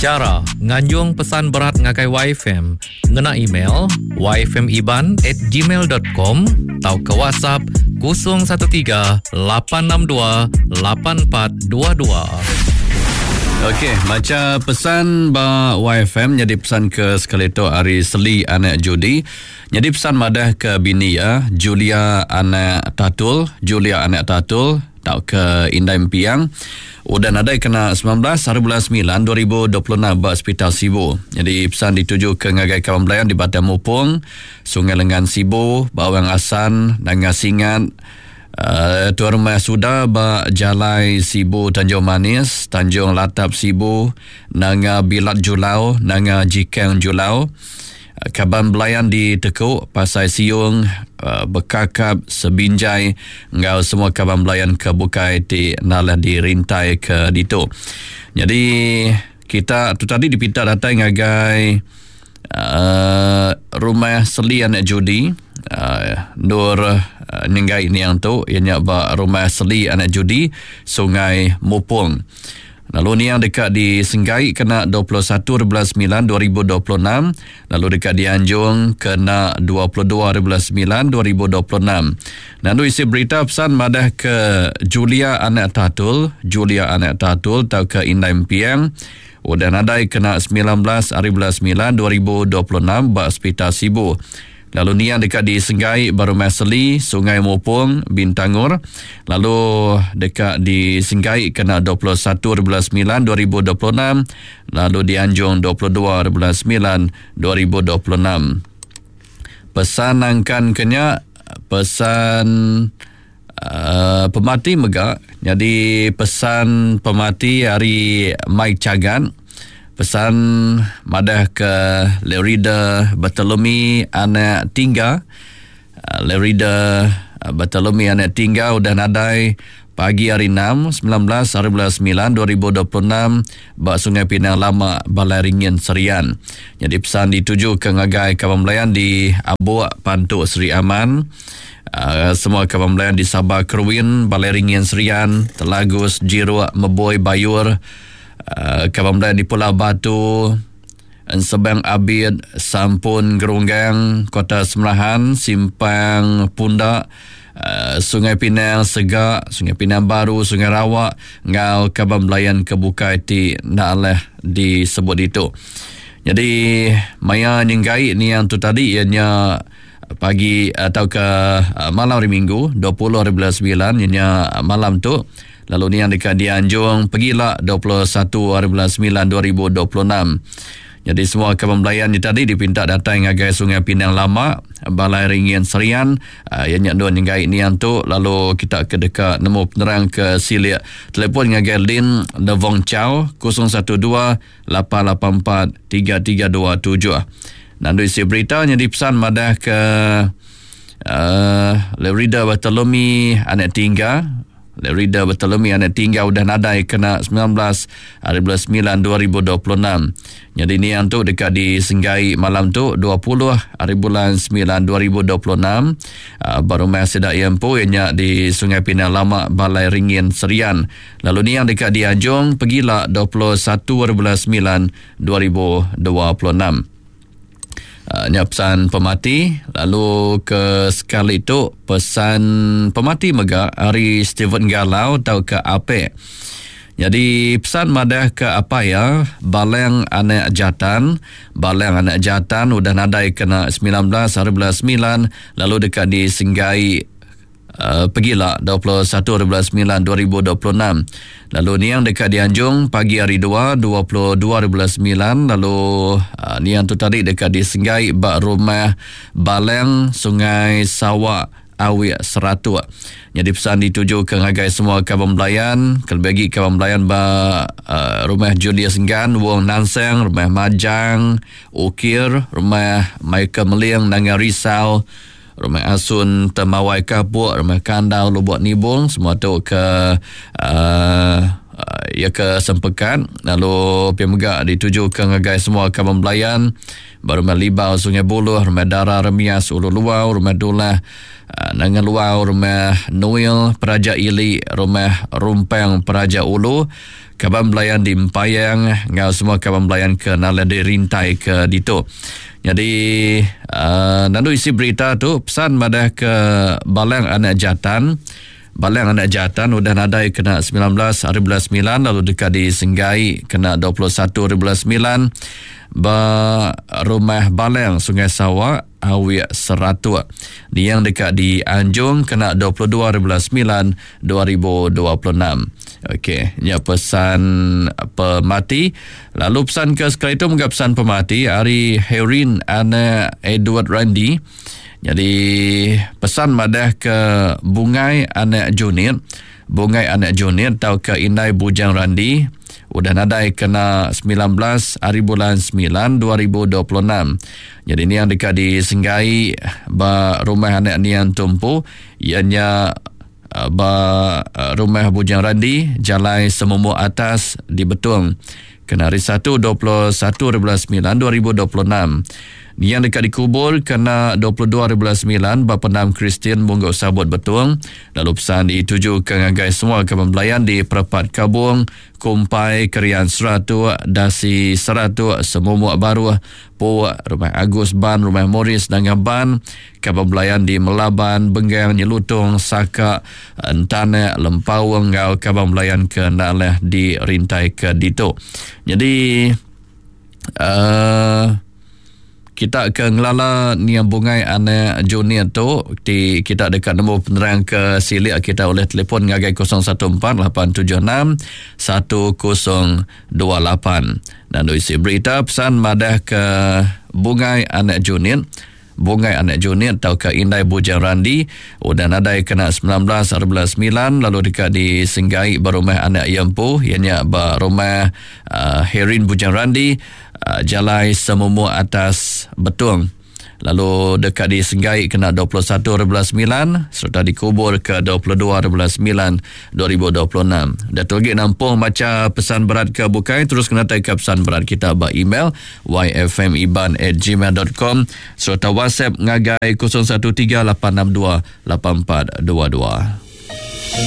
Chara nganjung pesan berat ngagai YFM ngena email yfmiban at gmail dot com tauka WhatsApp 013 862 8422. Okey, macha pesan ba YFM nyadi pesan ke sekali tu ari Seli anak Judi. Nyadi pesan madah ke bini iya Julia anak Tatul, Julia anak Tatul tauka Indai Empiang udah nadai kena 19 hari bulan 9 2026 ba Sepital Sibu. Nyadi pesan dituju ke ngagai kaban belayan di Batang Mupong, Sungai Lengan Sibu, Bawang Asan, Nanga Singat, uh, Tuan Rumah Suda ba Jalai Sibu Tanjung Manis, Tanjung Latap Sibu, Nanga Bilat Julau, Nanga Jikang Julau, Kaban belayan di Teku, Pasai Siung, Bekakap, Sebinjai enggau semua kaban belayan ke bukai ti nalah dirintai ke ditu. Nyadi kita tu tadi dipinta datai ngagai uh, rumah Seli anak Judi uh, endur uh, nyenggai niang tu iya nya ba rumah Seli anak Judi Sungai Mupong. Lalu niang deka disenggai kena 21 hari bulan 9 2026 lalu deka dianjung kena 22 hari bulan 9 2026. Nandu isi berita pesan madah ke Julia anak Tatul, Julia anak Tatul tauka Indai Empiang udah nadai kena 19 hari bulan 9 2026 ba Sepital Sibu. Lalu niang deka disenggai ba Rumah Seli, Sungai Mupong, Bintangor lalu deka disenggai kena 21 hari bulan 9 2026 lalu dianjung 22 hari bulan 9 2026. Pesan nangkan ke nya pesan uh, pemati mega nyadi pesan pemati ari Mike Chagan pesan madah ke Lerida Bartolome anak Tingga uh, Lerida Bartolome anak Tingga udah nadai pagi hari 6 19 hari bulan 9 2026 ba Sungai Pinang Lama Balai Ringin Serian. Nyadi pesan dituju ke ngagai kaban belayan di Abuk Pantu Seri Aman. Uh, semua kaban belayan di Sabah Keruin, Balai Ringin Serian, Telagus, Jiruk, Meboi, Bayur, uh, kaban belayan di Pulau Batu, Ensebang Abid, Sampun Gerunggang, Kota Semerahan, Simpang Pundak, uh, Sungai Pinang Segak, Sungai Pinang Baru, Sungai Rawak, enggau kaban belayan ke bukai ti enda alah disebut ditu. Jadi maya nyenggai niang tu tadi iya nya pagi atau ke malam hari Minggu 20 hari bulan 9 iya nya malam tu lalu niang deka dianjung pegila 21 hari bulan 9 2026. Jadi semua kaban belayan nya tadi dipinta datai ngagai Sungai Pinang Lama, Balai Ringin Serian, iya nya endur nyenggai niang tu lalu kita ke deka nemu penerang ke silik telefon ngagai Lin Nevong Chow 012 884 3327. Nandu isi berita nyadi pesan madah ke uh, Lerida Bartolome anak tingga Lerida Bartolome anak tingga udah nadai kena 19 hari bulan 9 2026. Nyadi niang tu deka disenggai malam tu 20 hari bulan 9 2026 uh, ba rumah sida iya empu iya nya di Sungai Pinang Lama Balai Ringin Serian. Lalu niang deka dianjung pegila 21 hari bulan 9 2026. Uh, nya pesan pemati lalu ke sekali tu pesan pemati mega ari Stephen Galau tauka Apek. Jadi pesan madah ke apa ya Balang anak Jatan, Balang anak Jatan udah nadai kena 19 hari bulan 9 lalu deka disenggai Uh, pegila 21 hari bulan 9 2026. Lalu niang deka dianjung pagi hari 2 22 hari bulan 9 lalu uh, niang tu tadi deka disenggai ba rumah Balang Sungai Sawa Awik Seratuk. Nyadi pesan dituju ke ngagai semua kaban belayan, kelebih agi kaban belayan ba uh, rumah Julius Enggan, Wong Nansang, rumah Majang, Ukir, rumah Michael Meling, Nanga Risau, Rumah Asun Temawai Kapuk, Rumah Kandau Lubuk Nibung, semua tu ke uh, Iya ke sempekat lalu pia mega ditujuka ngagai semua kaban belayan ba Rumah Libau Sungai Buluh, Rumah Dara Remias Ulu Luau, Rumah Dulah Nanga Luau, Rumah Nuil Peraja Ili, Rumah Rumpang Peraja Ulu, kaban belayan di Empayang enggau semua kaban belayan ke nalai dirintai ke ditu. Nyadi uh, nandu isi berita tu pesan madah ke Balang Anak Jatan Balang anak Jatan udah nadai kena 19 hari bulan 9 lalu deka disenggai kena 21 hari bulan 9 ba Rumah Balang Sungai Sawa, Awik Seratuk. Niang deka dianjung kena 22 hari bulan 9 2026. Okey, nya pesan pemati. Lalu pesan ke sekali tu mega pesan pemati ari Herin anak Edward Randy. Nyadi pesan madah ke Bungai anak Junit, Bungai anak Junit tauka indai Bujang Randi udah nadai kena 19 hari bulan 9 2026. Nyadi niang deka disenggai ba rumah anak niang tu empu iya nya eh, ba eh, rumah Bujang Randi Jalai Semumuk Atas di Betong kena hari 1 21 hari bulan 9 2026. Niang deka dikubur kena 22 hari bulan 9 ba Pendam Kristian Munggu Sabut Betong lalu pesan ditujuka ngagai semua kaban belayan di Perepat Kabong, Kumpai, Kerian Seratuk, Dasi Seratuk, Semumuk Baruh, Puk, Rumah Agus Ban, Rumah Morris Nanga Ban, kaban belayan di Melaban, Benggang, Nyelutong, Saka, Entanak, Lempaung enggau kaban belayan ke enda alah dirintai ke ditu. Nyadi uh, kita ke ngelala niang bungai anak junior tu ti kita deka nemu penerang ke silik kita oleh telefon ngagai 014 876 1028 dan isi berita pesan madah ke bungai anak junior Bungai anak Junit tauka indai Bujang Randi udah nadai kena 19 hari bulan 9 lalu deka disenggai ba rumah anak iya empu iya nya ba rumah uh, Herin Bujang Randi uh, Jalai Semumuk Atas Betong lalu deka disenggai kena 21 hari bulan 9 sereta dikubur ke 22 hari bulan 9 2026. Datu agi nampung macha pesan berat ke bukai terus kena ke pesan berat kita ba email yfmiban@gmail.com sereta WhatsApp ngagai 0138628422.